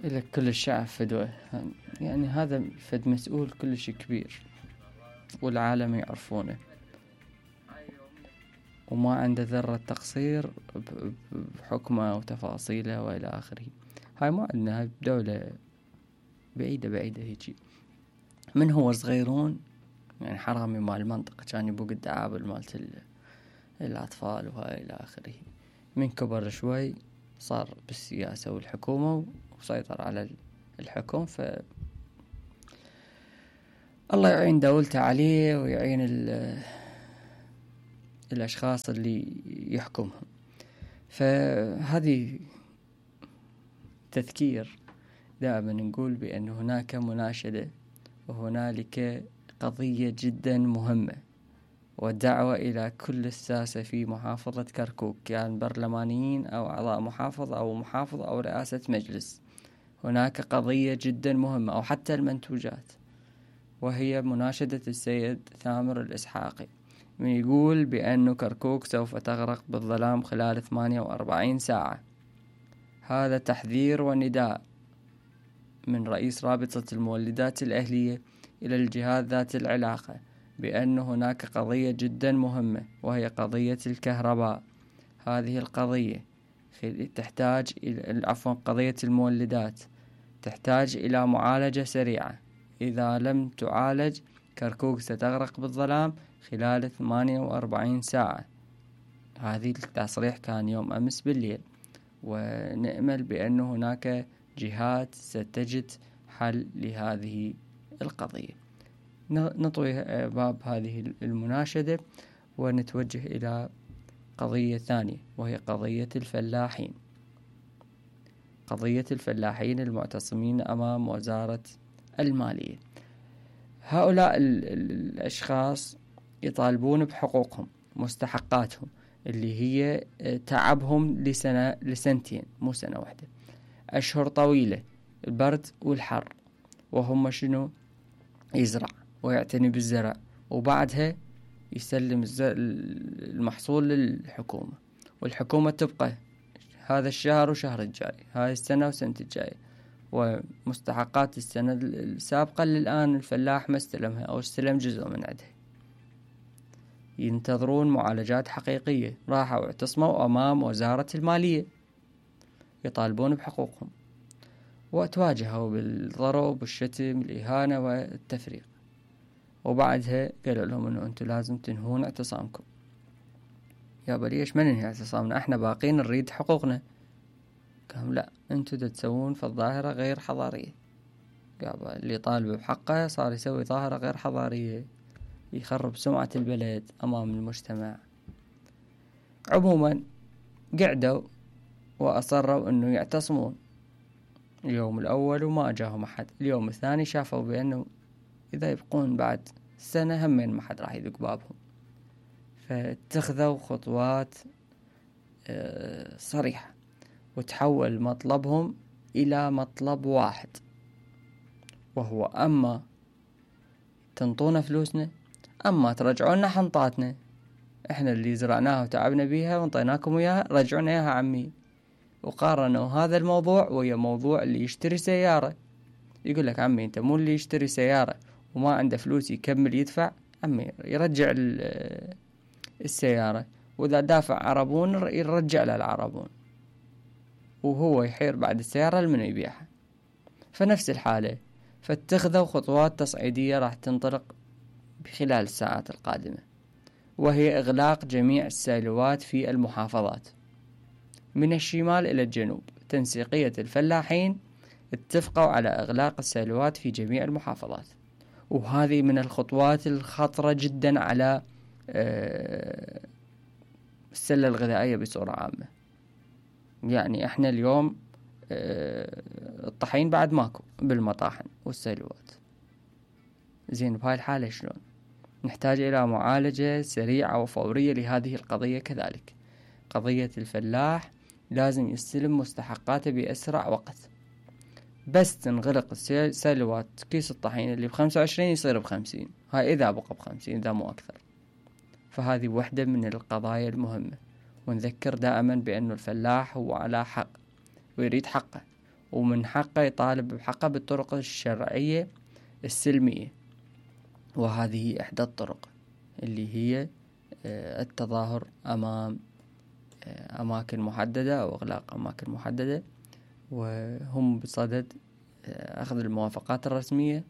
إلى كل الشعب فدوة، يعني هذا فد مسؤول كلش كبير والعالم يعرفونه، وما عنده ذرة تقصير بحكمه وتفاصيله وإلى آخره. هاي ما عندنا، هاي دولة بعيدة هيجي. من هو صغيرون يعني حرامي مال المنطقة، كان يبوق الدعابل مالت الأطفال وهاي إلى آخره. من كبر شوي صار بالسياسة والحكومة وسيطر على الحكم، الله يعين دولته عليه ويعين الأشخاص اللي يحكمهم. فهذه تذكير دائما نقول بأن هناك مناشدة وهنالك قضية جدا مهمة، والدعوة إلى كل الساسة في محافظة كركوك، كان برلمانيين أو أعضاء محافظة أو محافظة أو رئاسة مجلس. هناك قضية جدا مهمة، أو حتى المنتوجات، وهي مناشدة السيد ثامر الإسحاقي من يقول بأن كركوك سوف تغرق بالظلام خلال 48 ساعة. هذا تحذير ونداء من رئيس رابطة المولدات الأهلية إلى الجهات ذات العلاقة بأن هناك قضية جدا مهمة، وهي قضية الكهرباء. هذه القضية تحتاج قضية المولدات تحتاج إلى معالجة سريعة. إذا لم تعالج كركوك ستغرق بالظلام خلال 48 ساعة. هذه التصريح كان يوم أمس بالليل، ونأمل بأن هناك جهات ستجد حل لهذه القضية. نطوي باب هذه المناشدة ونتوجه إلى قضية ثانية، وهي قضية الفلاحين. قضية الفلاحين المعتصمين أمام وزارة المالية. هؤلاء الأشخاص يطالبون بحقوقهم، مستحقاتهم، اللي هي تعبهم لسنتين مو سنة واحدة، أشهر طويلة، البرد والحر، وهم شنو؟ يزرع ويعتني بالزرع، وبعدها يسلم المحصول للحكومة، والحكومة تبقى هذا الشهر وشهر الجاي، هاي السنة وسنة الجاي، ومستحقات السنة السابقة للآن الفلاح ما استلمها أو استلم جزء من عندها. ينتظرون معالجات حقيقية. راحوا اعتصموا أمام وزارة المالية يطالبون بحقوقهم، وتواجهوا بالضرب والشتم الإهانة والتفريق، وبعدها قالوا لهم أنه أنتم لازم تنهون اعتصامكم. يا ليش ما ننهي اعتصامنا؟ احنا باقين نريد حقوقنا. قالوا لا، أنتم تسوون في الظاهرة غير حضارية. قالوا اللي طالب بحقه صار يسوي ظاهرة غير حضارية، يخرب سمعة البلد أمام المجتمع. عموما قعدوا وأصروا أنه يعتصمون اليوم الأول وما أجاهم أحد. اليوم الثاني شافوا بأنه إذا يبقون بعد سنة همين ما حد راح يدق بابهم، فاتخذوا خطوات صريحة، وتحول مطلبهم إلى مطلب واحد، وهو أما تنطونا فلوسنا، أما ترجعونا حنطاتنا. إحنا اللي زرعناها وتعبنا بيها وانطيناكم إياها، رجعونا إياها عمي. وقارنوا هذا الموضوع ويا موضوع اللي يشتري سيارة. يقول لك عمي أنت مو اللي يشتري سيارة وما عنده فلوس يكمل يدفع، عمي يرجع السيارة، وإذا دافع عربون يرجع له العربون، وهو يحير بعد السيارة لمن يبيعها. فنفس الحالة، فاتخذوا خطوات تصعيدية راح تنطلق بخلال الساعات القادمة، وهي إغلاق جميع السيلوات في المحافظات من الشمال إلى الجنوب. تنسيقية الفلاحين اتفقوا على إغلاق السيلوات في جميع المحافظات، وهذه من الخطوات الخطرة جدا على السلة الغذائية بصورة عامة. يعني احنا اليوم الطحين بعد ماكو بالمطاحن والسيلوات. زين، بهاي الحالة شلون؟ نحتاج إلى معالجة سريعة وفورية لهذه القضية. كذلك قضية الفلاح لازم يستلم مستحقاته بأسرع وقت. بس تنغلق السيلوات، كيس الطحين اللي ب25 يصير ب50، هاي إذا بقى ب50 إذا مو أكثر. فهذه واحدة من القضايا المهمة، ونذكر دائما بأن الفلاح هو على حق ويريد حقه، ومن حقه يطالب بحقه بالطرق الشرعية السلمية. وهذه هي إحدى الطرق اللي هي التظاهر أمام أماكن محددة أو إغلاق أماكن محددة، وهم بصدد أخذ الموافقات الرسمية